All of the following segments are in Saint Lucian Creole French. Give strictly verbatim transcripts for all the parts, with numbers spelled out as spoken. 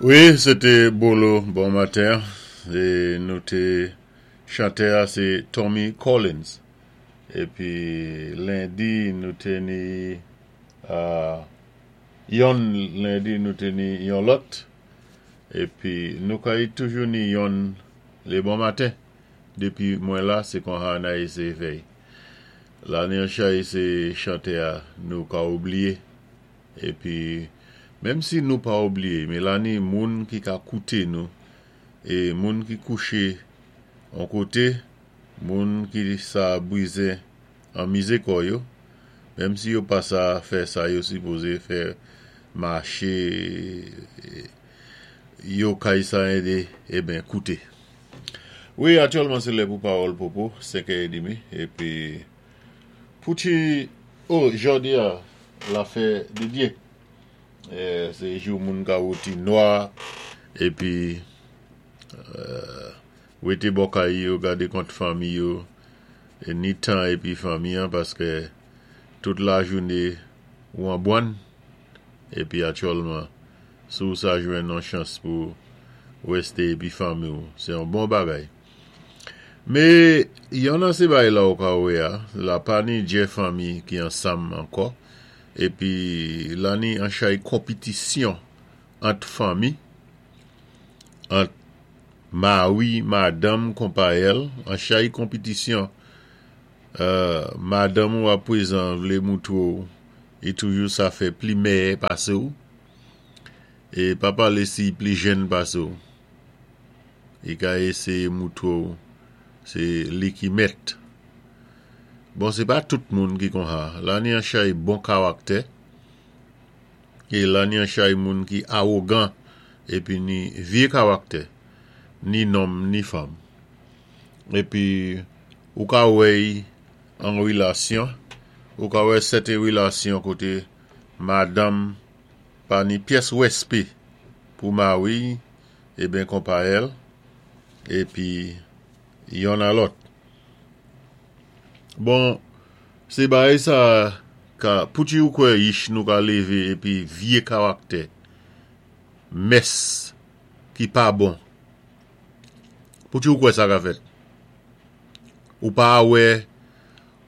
Wi, sé té Bolo Bon Maten. É nou té chantè sé Tommy Collins. Épi lendi nou té ni euh, yonn lendi nou té ni yon lòt. Épi nou kay toujou ni yonn lé bon maten. Dépi mwen la, sé konsa na éséyé fè. La ni an chay sé chantè nou ka oubliyé. Épi menm si nou pa oubliyé, mé la ni moun ki ka kouté nou é moun ki kouché an koté, moun ki sa bwizé anmizé kò yo, menm si yo pa sa fè sa yo sipozé fè maché yo kay sa édé eben kouté. Wi, aktyèlman sé lè pou Pawòl Popo, senkè é demi, épi pou ti, oh, jòdi a, la fè di Dye. Sé jou moun ka wouti nwa, épi euh, wété bò kay yo, gadé kont fanmi yo, é ni tan épi fanmi an, paské tout lajouné ou an bwann, épi aktyèlman, si ou sa jwenn yon chans pou wésté épi fanmi ou, sé yon bon bagay. Mé yon nan sé bagay la ou ka wè a, la pa ni djè fanmi ki ansanm ankò, épi la ni an chay konpitisyon ant fanmi, ant mari, madanm, konpayèl, an chay konpitisyon, euh, madanm ou apwézan vlé moutré ou, i toujou sa fè pli mèyè pasé ou, é pa palé si pli jèn pasé ou. I ka éséyé moutré ou, sé li ki mèt. Bon, sé pa tout moun ki konsa. La ni an chay bon karaktè, é la ni an chay moun ki awogan, épi ni vyé karaktè, ni nonm ni fanm. Épi, ou ka wè an wilasyon, ou ka wè sèten wilasyon koté madanm pa ni pyès wèspé pou mari, eben konpayèl, épi yonn a lòt. Bon, sé bagay sa ka, pou ti ou kwè yich nou ka lévé épi vyé karaktè, mès ki pa bon. Pou ti ou kwè sa ka fèt? Ou pa wè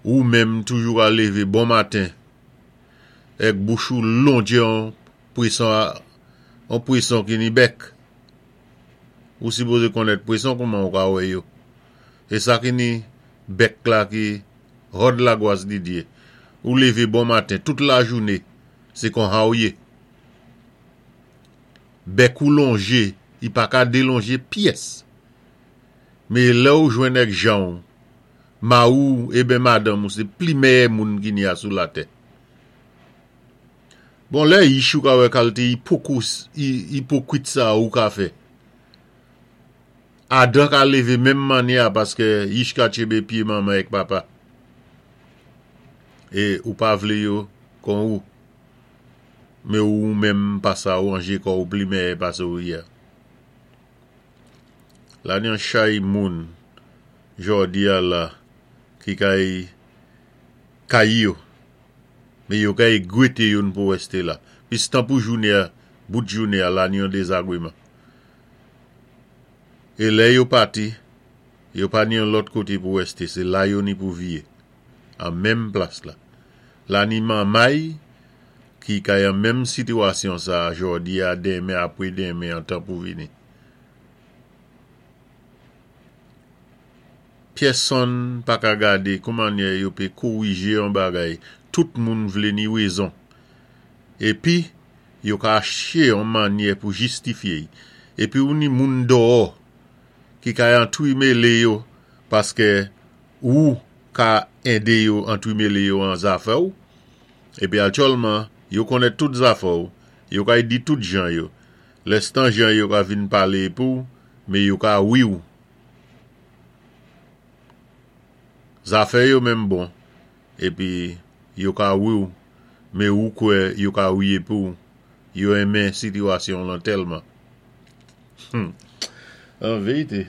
ou menm toujou ka lévé bon maten, èk bouch ou longè an pwéson an pwéson ki ni bèk. Ou sipozé konnèt pwéson kouman ou ka wè yo. É sa ki ni bèk la ki hòd lagwas di Dye. Ou lévé bon maten, tout lajouné, sé konsa ou yé. Bèk ou lonjé, i pa ka délonjé pyès. Mé lè ou jwenn èk jan ou, mari ou eben madanm ou sé pli mèyè moun ki ni a sou latè. Bon, lè yich ou ka wè kalité ipokous, ipokwit sa ou ka fè. Adan ka lévé menm mannyè a paské yich ka tchébé pyé manman èk papa. É ou pa vlé yo kon ou. Mé ou menm pa sa ou anjé kò ou pli mèyè pasé ou yé. La ni an chay moun jòdi a la ki kay kay yo. Mé yo kay gwété youn pou wèsté la. Pistan pou jouné a, bout jouné a la ni yon dézagwéman. É lè yo pati, yo pa ni yon lòt koté pou wèsté, sé la yo ni pou viyé. An menm plas la. La ni manmay ki kay an menm sitiwasyon sa jòdi a denmen apwé denmen an tan pou vini. Pèsonn pa ka gadé koumannyè yo pé kowijé yon bagay, tout moun vlé ni wézon. Épi, yo ka chèché yon mannyè pou jistifyé. Épi ou ni moun dòò ki kay antwimélé yo paské ou ka édé yo antwimélé yo an zafè ou. Épi aktyèlman, yo konnèt tout zafè ou, yo kay di tout jan yo. Lèstan jan yo ka vin palé pou, mé yo ka wi ou. Zafè yo menm bon, épi yo ka wi ou, mé ou kwè yo ka wiyé pou, yo enmen sitiwasyon lan tèlman. Hmm. An vérité,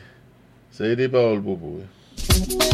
sa té Pawòl Popo.